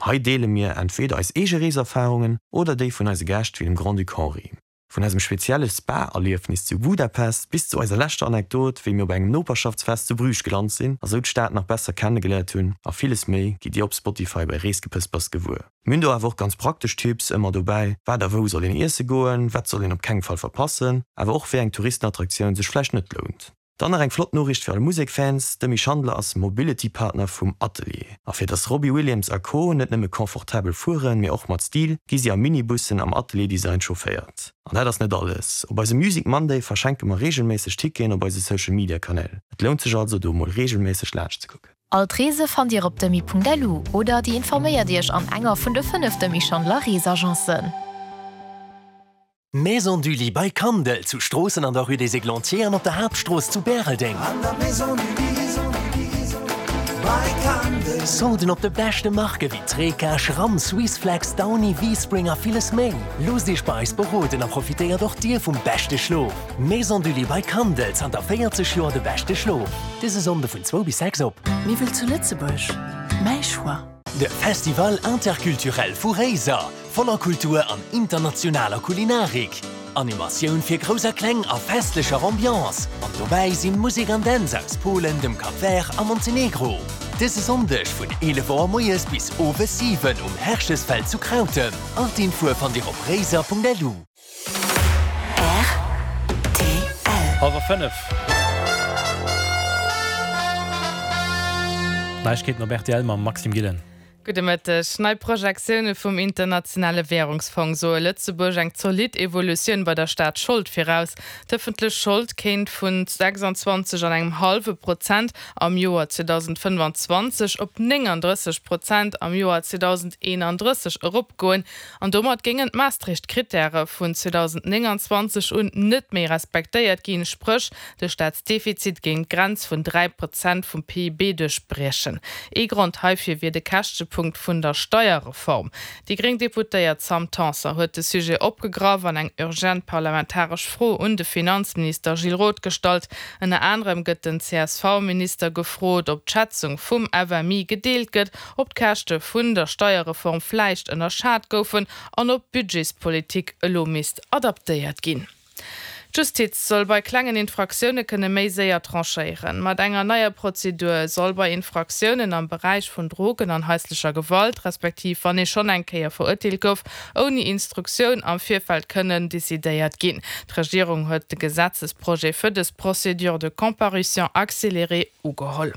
An hei deele mir entweder eis eege Reeserfarungen oder déi vun eise Gäscht wéi dem Grand-Duc Henri. Vun eisem spezielle Spa-Erliefnis zu Budapest bis zu eiser leschter Anekdot, wéi mir op engem Noperschaftsfest zu Bruges gelant sinn a sou d'Stad nach besser kennegeléiert hunn a villes méi, gitt Dir op Spotify bei Reesgepëspers gewuer. Mir hunn do awer och ganz praktesch Tipps ëmmer dobäi, wat a wou soll een iesse goen, wat soll een op kengem Fall verpassen, awer och wéi eng Touristenattraktioun sech vläicht net lount. Dann nach eng flott Noriicht fir all Musekfans, De Demy Schandler ass Mobility Partner vum Atelier. A fir dass Robbie Williams a Co. Net nëmme confortabel fueren, mee och mat Stil, gi si a Minibussen am Atelier Design chaufféiert. An dat ass net alles, Op eisem Music Monday verschenke mer reegelméisseg Ticketen op eise Social Media Kanäl. Et lount sech also do mol reegelméisseg laanscht ze kucken. All d'Reese fannt Dir op demy.lu oder Dir informéiert Iech an enger vun de 5 Demy Schandler Reesagencen. Maison du Lit bei Kandel, zu Stroossen an der Rue des Églantiers an op der Haaptstrooss zu Bäreldeng. Solden op de beschte Marke wéi Treca, Schramm, Swissflex, Downy, V-Spring a villes méi. Loosst Iech bei eis beroden a profitéiert och Dir vum beschte Schlof. Maison du Lit bei Kandel, zanter 40 Joer de beschte Schlof. Dëse Sonnde vun zwou bis 6 op. Miwwel zu Lëtzebuerg, mäi Choix. De Festival Interculturel vu Réiser, voller Kultur an internationaler Kulinarik. Animatioun fir Grouss a Kleng a festlecher Ambiance. An dobäi sinn Musek an Dänz aus Polen, dem Cap Vert a Montenegro. Dëse Sonndeg vun 11 Auer moies bis owes 7 um Herchesfeld zu Krautem. All d'Infoe fannt dir op réiser.lu. Rtl. Hallwer 5. Neiegkeeten op rtl mam Maxime Gillen. Gudde Mëtteg. Nei Projektioune vum Internationale Wärungsfong soe Lëtzebuerg eng zolidd Evolutioun bei der Staatsschold viraus. D'ëffentlech Schold kéint vun 26 an engem hallwe Prozent am Joer 2025 op 39 Prozent am Joer 2031 eropgoen. An domat géingen d'Maastricht-Krittäre vun 2029 un net méi respektéiert ginn, spréch De Staatsdefizit géing d'Grenz vun 3 Prozent vum PIB duerchbriechen. Ee Grond heifir wier de Käschtepunkt vun der Steierreform. Déi gréng Deputéiert Sam Tanson huet de Sujet opgegraff an eng urgent parlamentaresch Fro un de Finanzminister Gilles Roth gestallt. Ënner anerem gëtt den CSV-Minister gefrot, ob d'Schätzung vum FMI gedeelt gëtt, ob d'Käschte vun der Steierreform vläicht ënnerschat goufen an ob d'Budgetspolitik elo misst adaptéiert ginn. D'Justiz soll bei klengen Infraktioune kënne méi séier tranchéieren. Mat enger neier Prozedur soll bei Infraktiounen am Beräich vun Drogen an haislecher Gewalt, respektiv wann ee schonn eng Kéier verurteelt gouf, ouni Instruktioun am Virfeld kënnen decidéiert ginn. D'Regierung huet de Gesetzesprojet fir dës Procédure de comparution accélérée ugeholl.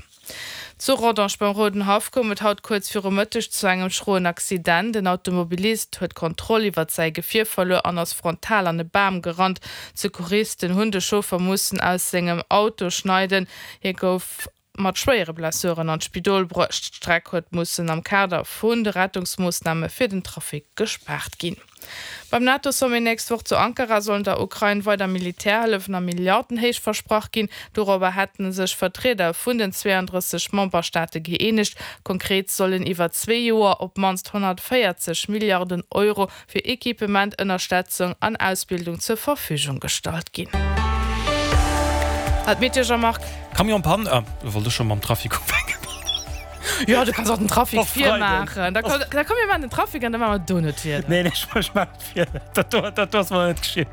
Zu Rodange beim Roudenhaff koum et haut kuerz viru Mëtteg zu engem schroen Accident. En Automobilist huet d'Kontroll iwwert säi Gefier verluer an ass frontal an e Bam gerannt. D'Secouristen hunn de Chauffer mussen aus sengem Auto schneiden. Hie gouf mat schwéiere Blessuren an d'Spidol bruecht. D'Streck huet mussen am Kader vun de Rettungsmoossname fir den Trafic gespaart ginn. Beim NATO-Sommet nächst Woch zu Ankara sollen der Ukrain weider Militärhëllefen a Milliardenhéicht versprach ginn. Dorobber hätte sech Vertrieder vun den 32 Memberstaate gëeenegt. Konkret sollen iwwer zwee Joer op d'mannst 140 Milliarden Euro fir Equipement, Ënnerstetzung an Ausbildung zur Verfügung gestallt ginn. Hat d'Meteo Jean-Marc. Camion Panne, ah, wollt ech scho mam Trafic ufänken. Jo, du kanns och den Trafic virmaachen. Da komm, da komm mir maachen den Trafic an da maache mer dono d'Wieder. Nee, nee, ech ech maachen d'Wieder. Dat do, dat do ass mer net geschitt.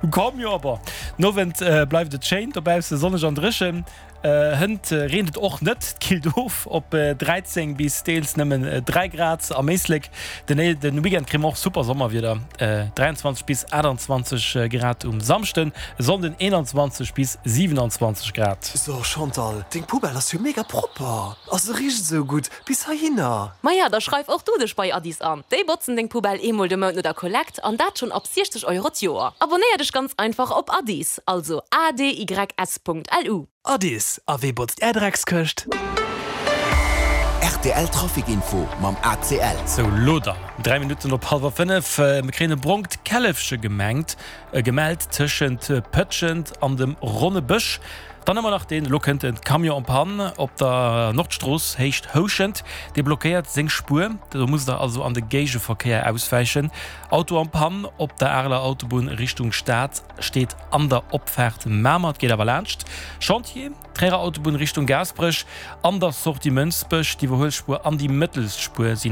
Komm, jo, bon. Den Owend bleift et schéin dobausse, sonneg an dréchen. Hënt reent et och net, et killt of op 13 bis deels nëmmen 3 Grad am Éislek. Den den Weekend kréie mer och super Sommerwieder, 23 bis 28 Grad um Samschden, e Sonnden 21 bis 27 Grad. So Chantal, deng Poubelle ass jo mega propper a se richt esou gutt bis heihinner. Maja, da schreif och du dech bei Addis an. Déi botzen deng Poubelle eemol de Mount no der Kollekt an dat schonn ab 60 Euro d'Joer. Abonnéier dech ganz einfach op Addis, also adys.lu. Addis, a wee botzt är Dreckskëscht? Rtl Trafic Info mam ACL. Sou, lo dann, 3 Minutten op hallwer 5. Mir kréien e brongt Källefche gemengt, gemellt tëschent Pëtschent an dem Ronne Bësch. Dann hu mer nach deen, elo kënnt en, Camion en panne op der Nordstrooss Héicht Houschent. Dee blockéiert seng Spuer, do musst der also an de Géigeverkéier auswäichen. Auto en panne op der Areler Autobunn Richtung Stad steet an der Opfaart Mamer, et geet awer laanscht Chantier Tréierer Autobunn Richtung Gaasperech an der Sortie Mënsbech. D'Iwwerhuelspuer an déi mëttelst Spuer sinn.